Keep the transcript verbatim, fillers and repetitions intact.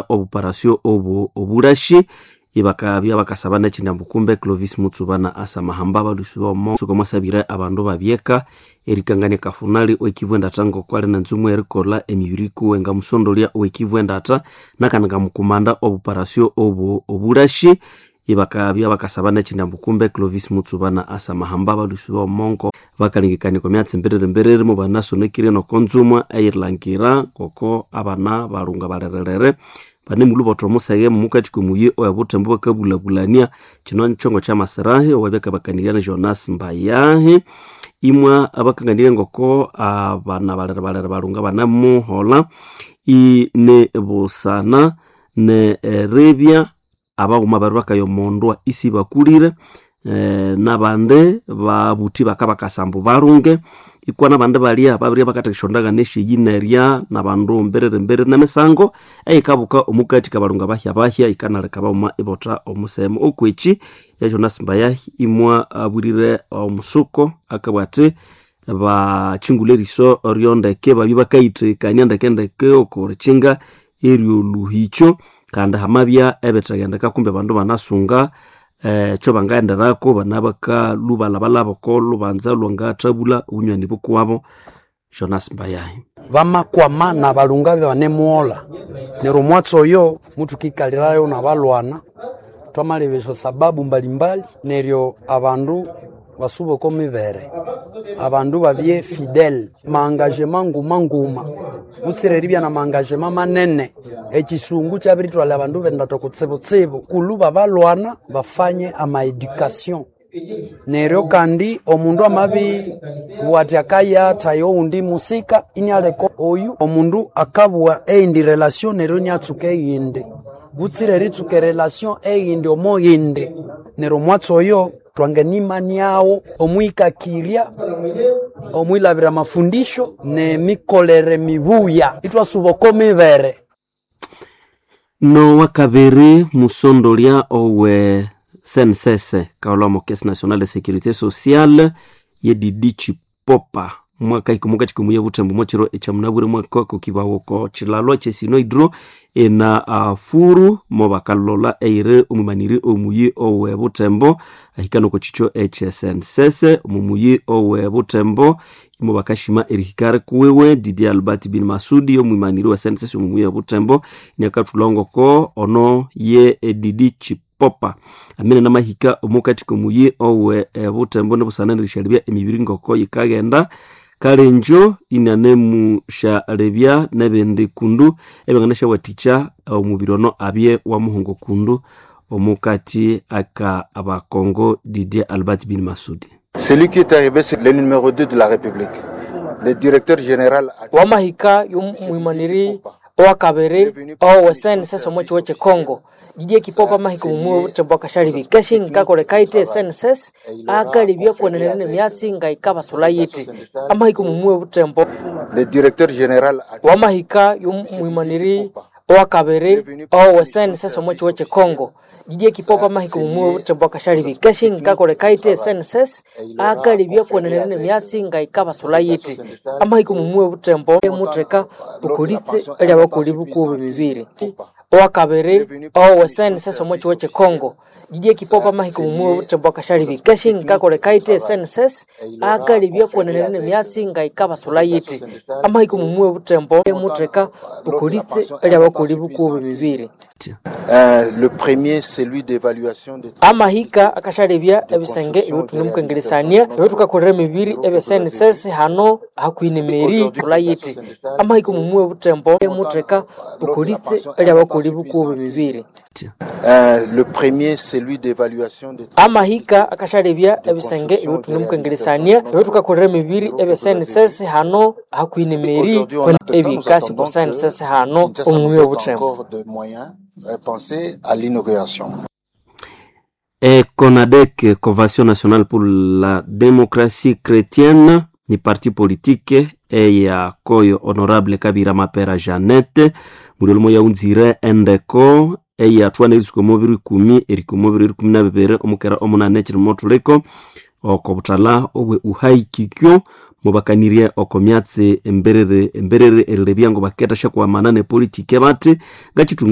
Obuparasyo obu obulashi ibakabya bakasaba nekyindi kumbe Clovis Mutsubana asamahamba balusi bomo suko mwasabire abandu babyeka erikangania kafunali owekivu endatha ngokwali nenzumu erikolha emibiri kuwe ngamusondolya owekivu endatha nakandi ngamukumanda obuparasyo obu obulashi ibakabya bakasaba nekyindi kumbe Clovis Mutsubana asamahamba balusi bomongo bakalengekania okwa myatsi mbiriri mbiriri mubanasonekire nokonzumwa eyirilhangira ngoko abana balunga balhererere banemulhubotha omuseghe mumukati komuyi owebuthembu bakabulabulania. Kino nikyongo kyamasirahi owabyakabakanirya ni Jonas Mbayahi imwa abakanganirye ngoko abana balere balere balunga banamuholha ine busana neribya abaghuma bari bakaya omondwa isibakulire eh, nabandi babuthi bakabakasa ambu balunge ikwa nabandi balya babirya bakathekesya endagano esyeyinerya nabandu mbiriri mbiriri nemisango eyikabuka omukati kabalunga bahya bahya yikanaleka baghuma ibotha omusemu. Okwekyi ya Jonas Mbayahi imwa abwirire omusuko akabugha athi bakyingulha eriso ryondeke babye bakayithekania ndeke ndeke okorikyinga eryolhuhikyo kandi hamabya ebithagendeka kumbe abandu banasunga ekyo bangaghenderako bana bakalhubalhabalhaba oko lhubanza lwangathabulha obunywani bukuwabo. Jonas Mbayahi. Bamakwama nabalunga banemuholha neryo omwatsi oyo muthukikalirayo nabalwana twamaleba esyo sababu mbalimbali neryo abandu basuba oko mibere abandu babye fidele maengagement nguma nguma butsira eribya na maengagement manene. Ekisungu kyabiritwalha abandu bendatha kutsibutsibu kulhu babalwana bafanye ama education neryo kandi omundu amabibugha athi akayathaya owundi musika inialeka oyu omundu akabugha eyindi relation neryo iniatsuka eyindi butsira eritsuka erelation eyindi omo yindi neryo omwatsi oyo twanganimaniagho omwikakirya omwilabira amafundisho nemikolere mibuya ithwasuba oko mibere. Nowakabiri musondolya owe C N S S kaholwa Caisse Nationale de Sécurité Sociale ye Didi Chipopa mwaka ikumukati komuya buthembu mwekiro ekyamunabwire mwaka kokibawo ko kyilalo kyesino hydro ena uh, furu mo bakalola eire omwimaniri omuyi owe buthembo ahika noko kikyo ekye C N S S omumuyi owe buthembo imo bakashima erihika kuwiwe. Didi Albert bin Masudi omwimaniri wa C N S S omumuyi owe buthembo niakathulha ono ye Didi Chipopa amene namahika omukati komuyi owe e, buthembo nibusana nerishalebya emibiri ngoko yikaghenda kalenjo inanemushalebya nebindi kundu ebyanganasyawathikya omubiri ono abye wamuhungo kundu omukati aka abakongo. Didier Albert bin Masudi. Celui qui est arrivé, c'est le numéro deux de la République. Le directeur général wamahika y'omwimaniri owakabiri owe C N S S omo kiwo kye Congo Didier Kipopa mahika omumwi obuthembo akashalibya keshi nkakoleka ite C N S S akalibya kwenene nemyatsi nga ikabasula yiti amahika omumwi obuthembo. Le directeur général wamahika y'omwimaniri owakabiri owe C N S S omo kiwo kye Congo Didier Kipopa mahika omumwi obuthembo akashalibya keshi nkakoleka ite C N S S akalibya kwenene nemyatsi nga ikabasula yiti amahika omumwi obuthembo mutheka okoliste eryabakoli bukubo bibiri owakabiri owe C N S S omo kiwo kye Congo Didier Kipopa mahika omumwi obuthembo akashalibya keshi nkakoleka ite C N S S akalibya kwenene nemyatsi nga ikabasula yiti amahika omumwi obuthembo mutheka okoliste eryabakoli bukubo bibiri. Euh, le premier, celui d'évaluation des amahika akashalebya ebisenge ebyotunemukengelesania ebyotukakolera emibiri ebya C N S S hano hakuhi meri kula yiti amahika omumwi obuthembo mutheka okoliste eryabakoli bukubo bibiri. Euh, le premier, celui d'évaluation des amahika akashalebya ebisenge ebyotunemukengelesania ebyotukakolera emibiri ebya C N S S hano hakuhi meri ebikasi ku C N S S hano omumwi obuthembo. Encore de moyens euh, penser à l'inauguration. E CONADEC, Convention nationale pour la démocratie chrétienne, ni parti politique eya koyo honorable Kabira Mapera Jeannette muliolumo yaunzire endeko eyathwana erisuka omubiri ikumi erika omubiri ikumi na bibiri omukera omunane ekirimo thuliko oko buthala obwe uhaikikyo mubakanirye oko myatsi emberere emberere erilebya ngo baketha syakwamana ne politike bati ngakithunga.